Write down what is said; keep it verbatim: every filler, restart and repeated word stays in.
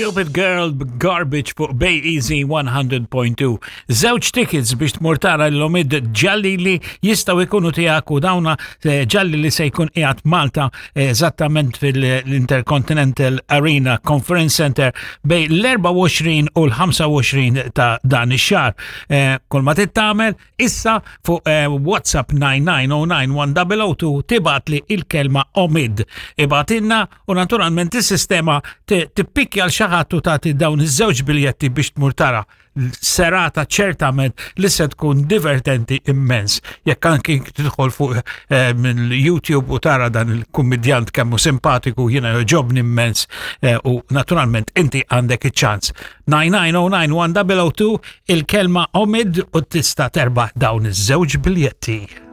Stupid Girl Garbage fuq Bay Easy one hundred point two. Żewġ tickets biex tmur tara lil Omid Djalili jistgħu jkunu tiegħek u dawna eh, Djalili se jkun qiegħed Malta eh, eżattament fil-Intercontinental Arena Conference Center bejn l-erbgħa u għoxrin u l-ħamsa u għoxrin ta' dan ix-xahar. Eh, kull ma trid tagħmel issa fuq WhatsApp nine nine zero nine one zero zero two tibgħatli il-kelma Omid. Ibgħatilna u naturalment is-sistema tippikja lil xi ħadd u tagħti dawn iż-żewġ biljetti biex tmur tara serata ċertament li se tkun divertenti immens. Jekk anki tidħol fuq eh, minn YouTube u tara dan il-kummedjant kemmu simpatiku, jiena jogħġobni immens eh, u naturalment inti għandek iċ-ċans. nine nine zero nine one zero zero two, il-kelma Omid, u tista' terbaħ dawn iż-żewġ biljetti.